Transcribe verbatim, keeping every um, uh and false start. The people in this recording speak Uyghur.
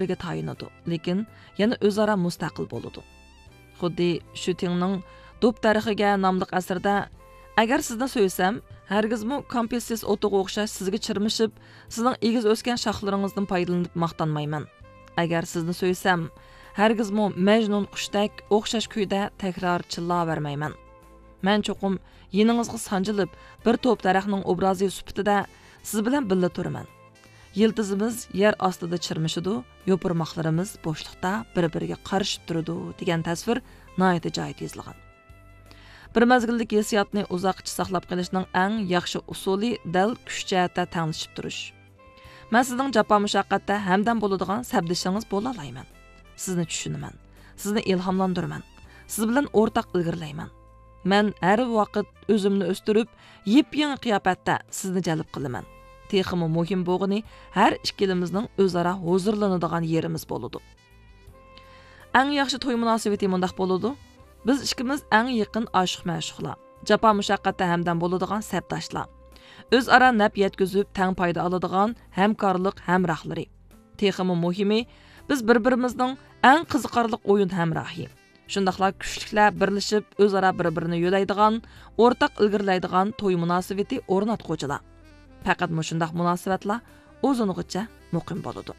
بىرىگە تايىنىدۇ، لېكىن يەنە ئۆزئارا مۇستەقىل بولىدۇ. خۇددى شۈتىڭنىڭ دوپ دەرىخىگە ناملىق ئەسىرىدە، ئەگەر سىزنى سۆيسەم، ھەرگىزمۇ كامپىسسىس ئوتىغا ئوخشاش سىزگە چىرمىشىپ، سىزنىڭ ئېگىز ئۆسكەن شاخلىرىڭىزدىن پايدىلىنىپ ماختانمايمەن. ئەگەر سىزنى سۆيسەم، ھەرگىزمۇ مەجنۇن قۇشتەك ئوخشاش كۈيدە تەكرار چىللاۋەرمەيمەن. مەن چوقۇم يېنىڭىزغا سانجىلىپ، بىر توپ دەرەخنىڭ ئوبرازى سۈپىتىدە سىز بىلەن بىللە تۇرىمەن. يىلتىزىمىز يەر ئاستىدا چىرمىشىدۇ، يوپۇرماقلىرىمىز بوشلۇقتا بىر-بىرىگە قارىشىپ تۇرىدۇ، دېگەن تەسۋىر ناھايىتى جايىدا يېزىلغان. بىر مەزگىللىك ھېسسىياتنى ئۇزاققىچە ساقلاپ قېلىشنىڭ ئەڭ ياخشى ئۇسۇلى دەل كۈچ جەھەتتە تەڭلىشىپ تۇرۇش. مەن سىزنىڭ جاپا مۇشەققەتتە ھەمدەم بولىدىغان سەپدىشىڭىز بولالايمەن. سىزنى چۈشىنىمەن. سىزنى ئىلھاملاندۇرىمەن. سىز بىلەن ئورتاق ئىلگىرىلەيمەن. مەن ھەر ۋاقىت ئۆزۈمنى ئۆستۈرۈپ، يېپيېڭى قىياپەتتە سىزنى جەلپ قىلىمەن. تېخىمۇ مۇھىم بولغىنى، ھەر ئىككىلىمىزنىڭ ئۆزئارا ھۇزۇرلىنىدىغان يېرىمىز بولىدۇ. ئەڭ ياخشى توي مۇناسىۋىتى مۇنداق بولىدۇ. بىز ئىككىمىز ئەڭ يېقىن ئاشىق-مەشۇقلار، جاپا مۇشەققەتتە ھەمدەم بولىدىغان سەپداشلار، ئۆزئارا نەپ يەتكۈزۈپ تەڭ پايدا ئالىدىغان ھەمكارلىق ھەمراھلىرى. تېخىمۇ مۇھىمى، بىز بىر-بىرىمىزنىڭ ئەڭ قىزىقارلىق ئويۇن ھەمراھى. شۇنداقلا كۈچلۈكلەر بىرلىشىپ ئۆزئارا بىر-بىرىنى يۆلەيدىغان، ئورتاق ئىلگىرىلەيدىغان توي مۇناسىۋىتى ئورناتقۇچىلار. پەقەت مۇشۇنداق مۇناسىۋەتلەر ئۇزۇنغىچە مۇقىم بولىدۇ.